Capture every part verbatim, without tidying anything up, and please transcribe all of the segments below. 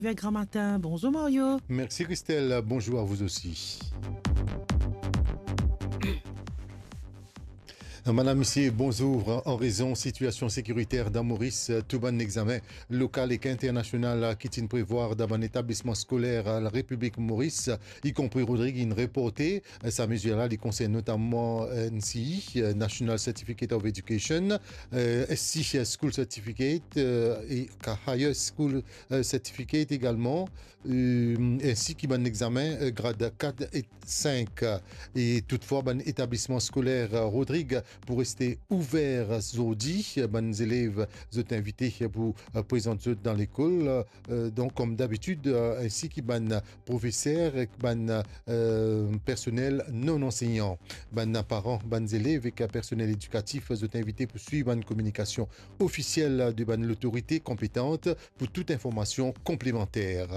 Vers Grand Matin. Bonzour Mario. Mersi Christelle, bonzour a vous osi. Madam, misie, bonzour. An rezon sitiasion sekiriter dan Moris, tou bann examen lokal ek internasional ki ti prevwar dan bann etablisman skoler Larepiblik Moris, ikonpri Rodrig, inn reporte. Sa mezir la, li konsern notaman N C E, National Certificate of Education, eh, S C School Certificate, eh, ek Higher School, eh, Certificate egalman, eh, ensi ki bann examen, eh, grad kat ek sink. E toutfwa, bann etablisman skoler, eh, Rodrig, pou reste ouver zordi. Bann zelev, zot invite pou, eh, prezant zot dan lekol, eh, donk, kom dabitid, eh, ensi ki bann profeser ek bann, eh, personel non ansegnan. Bann paran, bann zelev ek personel edikatif, zot invite pou swiv bann kominikasion ofisiel de bann lotorite konpetant pou tou informasion konplemanter.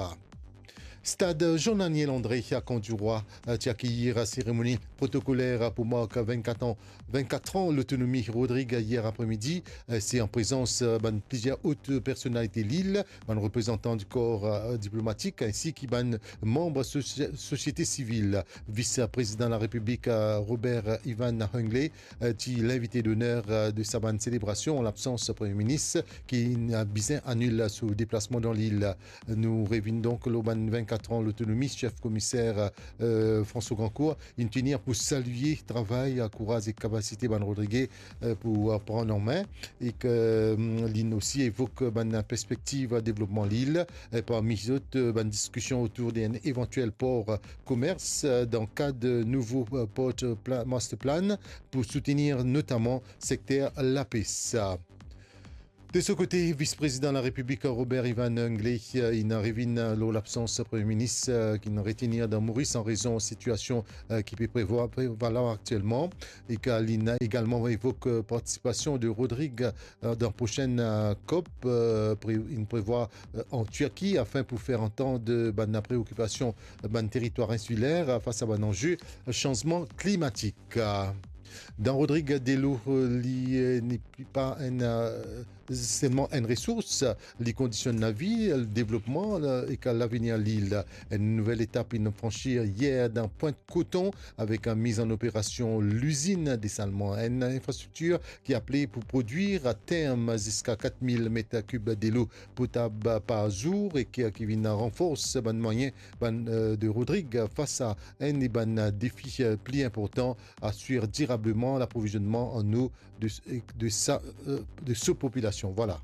Stad Jean-Naniel André a Camp du Roi, eh, ti akeyir seremoni protokoler pou mark vennkat an, vennkat an lotonomi Rodrig yer apremidi. Eh, se an prezans, eh, bann plizier ot personalite lil, bann reprezantan di kor, eh, diplomatik, ensi ki bann manm sosi-, sosiete sivil. Vis-Prezidan Larepiblik, eh, Robert Ivan Hinckley, eh, ti linvite doner, eh, de sa bann selebrasion, an labsans Premie Minis, ki inn bizin anil so deplasman dan lil. Nou revinn donk lor bann vennkat an lotonomi, sef komiser, eh, François Grandcourt, inn tenir pou salie travay, kouraz ek kapasite bann Rodrige, eh, pou, eh, pran an me, ek, eh, linn osi evok bann perspektiv devlopman lil, eh, parmi zot, eh, bann diskision otour de enn evantiel por, eh, komers, eh, dan kad nouvo, eh, port, eh, pla-, master plan pou soutenir notaman sekter lapes. De so kote, Vis-Prezidan Larepiblik Robert Ivan Hinckley, eh, inn revinn lor labsans Premie Minis, eh, ki inn retenir dan Moris an rezon sitiasion, eh, ki pe prevwa-, prevalar aktielman, e ki linn egalman evok, eh, partisipasion de Rodrig, eh, dan prosenn, eh, COP, eh, pre-, inn prevwa, eh, an Tirki, afin pou fer antann bann preokipasion, eh, bann teritwar insiler, eh, fas a bann anze, eh, sanzman klimatik. Dan Rodrig, delo, eh, li, eh, nepli pa enn, eh, selman enn resours, li kondisionn lavi, devlopman, eh, ek lavenir lil. Enn nouvel etap inn fransi yer dan Pointe Coton avek enn miz an operasion lizinn desalman, enn infrastriktir ki apel pou prodwir aterm ziska kat mil met kib delo potab par zour e ki, ki vinn ranfors bann mwayin bann, eh, de Rodrig fas a enn bann defi, eh, pli inportan, asir dirableman laprovizonnman an eau de, de sa, eh, de so popilasion. Vwala.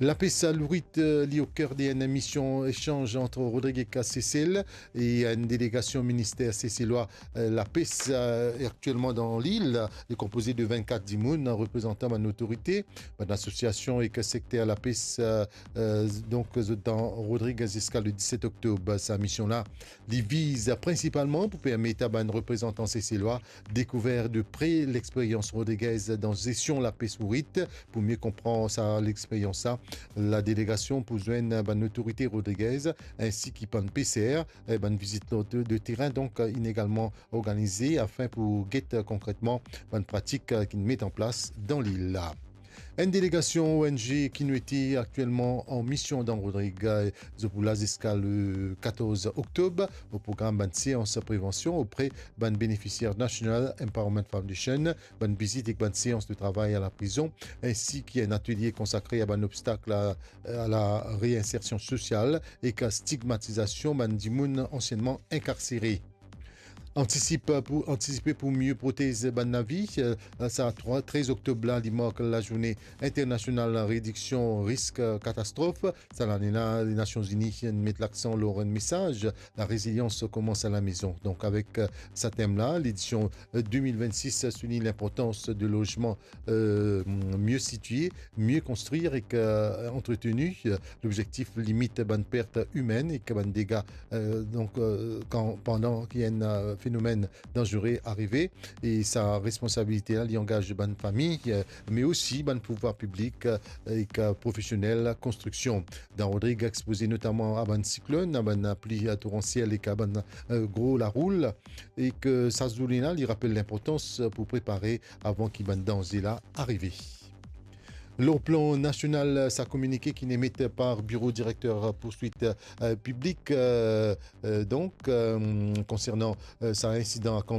Lapes a lourit, eh, li o ker de enn mision esanz ant Rodrig ek Sesel, e enn delegasion minister seselwa, eh, lapes, eh, aktielman dan lil, li konpoze de vennkat dimoun, reprezantan bann otorite, bann asosiasion ek sekter lapes, eh, eh, donk, zot dan Rodrig ziska le diset oktob. Sa mision la, li viz prinsipalman pou permet a bann reprezantan seselwa dekouver de pre lexperyans rodrigez dan zestion lapes lourit. Pou mie konpran sa lexperyans la, ladelegasion pou zwenn bann otorite rodrigez, ensi ki bann peser. Eh, bann vizit de, de terin, donk, inn egalman organize afin pou get konkretman bann pratik ki met an plas dan lil la. Enn delegasion O N G ki nou ete aktielman an mision dan Rodrig, zot pou la ziska le katorz oktob. O program, bann seans prevansion opre bann benefisier National Empowerment Foundation, bann vizit ek bann seans de travay a laprizon, ensi ki enn atelie konsakre a bann obstak a, a lareinsersion sosial ek a stigmatizasion bann dimoun ansienman inkarsere. Antisip pou, antisipe pou mie protez bann lavi, eh, sa trwa, trez oktob la, li mark lazourne internasional rediksion risk, eh, katastrof. Sa lane la, Nasion Zini inn met laksan lor enn mesaz, la résilience commence à la maison. Donk, avek, eh, sa tem la, ledision, eh, de mil vennsis soulign linportans de lozman, eh, mie sitie, mie konstrir ek, eh, antreteni. Lobzektif, limit bann pert imenn ek bann dega, eh, donk, eh, kan, pandan ki enn, eh, fenomenn danzere arive, e sa responsabilite la, li angaz bann fami, eh, me osi bann pouvwar piblik, eh, ek, eh, profesionel konstriksion. Dan Rodrig expoze notaman a bann siklonn, a bann lapli, eh, toransiel ek a bann, eh, gro laroul, e ki sa zourne la, li rapel linportans pou prepare avan ki bann danze la arive. Lor plan nasional, sa kominike ki'nn emet par Biro Direkter Pourswit, eh, Piblik, eh, eh, donk, eh, konsernan, eh, sa insidan